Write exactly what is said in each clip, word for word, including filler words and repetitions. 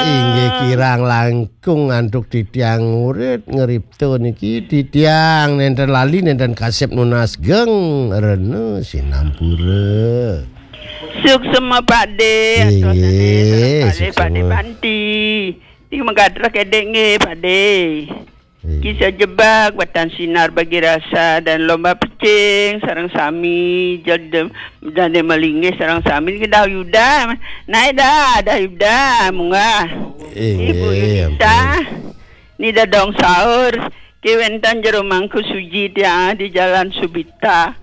Inggih kirang langkung antuk titiang murid ngripta niki, titiang nenten lali nenten kasep nunas geng rena sinampura. Suksema Pak De, atur sane sareng kalih Pak De Banti. Niki megadrek edek nggih Pak De. Kisah jebak, batan sinar bagi rasa dan lomba pecing sareng sami, jadem dane melinggih sareng sami niki dah Yuda. Naik dah, dah Yuda, munggah. Ibu Yudita, ni dadong sahur, ki wenten jero mangku suji tiang di Jalan Subita.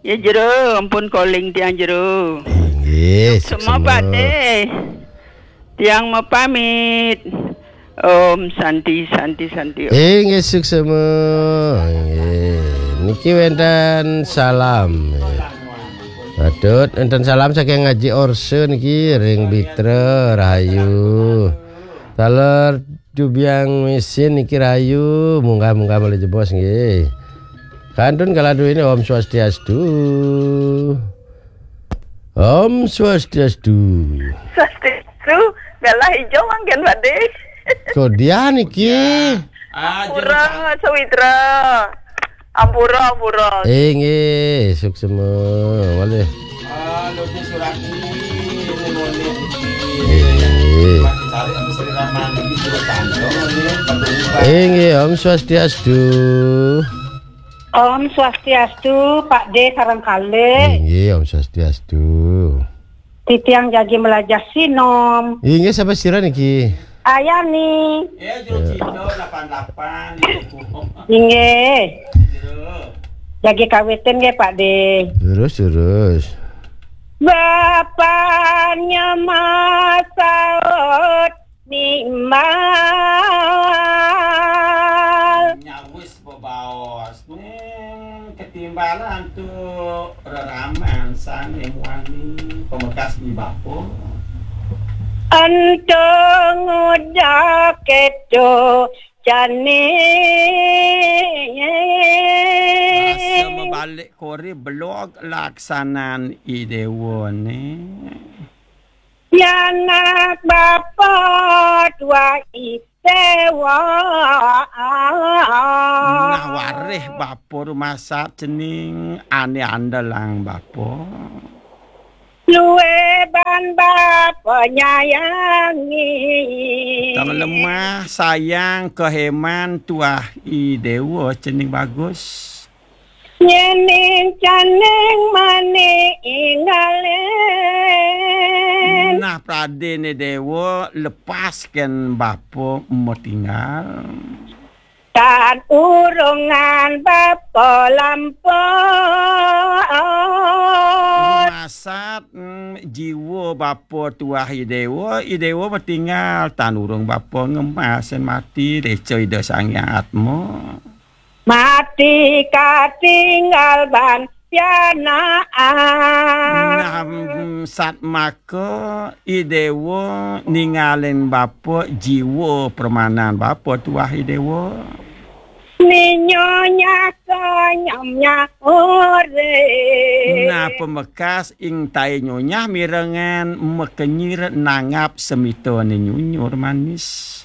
Ya jero, ampun koling tiang jero. Inggih, semua Pak De. Tiang mapamit. Om Santi, Santi, Santi. Inggih, suksema. Inggih. Niki wenten salam. Patut wenten salam saking Ngaji Orse niki ring Bitra Rahayu. Taler Jubiang Misin niki rahayu, munggah-munggah malih jebos nggih. Kantun kala duwene Om Swastiastu. Om Swastiastu. Swastiastu, galah ijo mangkin Pak De. Kodian niki. Ampura, Sawitra. Ampura, ampura. Inggih, suksema. Malih. Ah, Loji Suraki, ini nulis. Inggih. Cari apa Sri Ramani, ini sudah cantong, ini, Pak Guru, Pak. Inggih, Om Swastiastu. Om Swastiastu, Pak De sareng kalih. Inggih, Om Swastiastu. Titiang jagi melajah sinom. Inggih, sapa sira niki? Ayani. Ya, Jero Cino delapan delapan. Inggih. Jero. Jagi kawitin nggih, Pak De. Terus, terus. Bapaknya masaut nimbal. Nyawis bebaos. Hmm, ketimbalan tu reraman sane muani pamekas di bapa. Ento ngudak keto jani. Rasa mabalik kori belog laksanan i dewa ne. Pianak bapa tuah i dewa. Nah, warih bapa rumasat cening ane andelang bapa. Luwih ban bapa nyayangi. Tang lemah sayang keheman tuah i dewa cening bagus. Nyening caning mani inggalin. Nah, pradene dewa lepasken bapa matinggal. Tan urungan bapa lampun. Masat, mm, jiwa bapa tuah i dewa, i dewa matinggal, tan urung bapa ngemasin mati, reca Ida Sang Hyang Atma. Mati katinggal ban pianaan. Nah, mm, satmaka i dewa ningalin bapa jiwa permanan bapa tuah i dewa. Ninyonya kanyamnya urip. Nah, pamekas ing tai nyonyah mirengan makenyir nanggap semita ne nyunyur manis.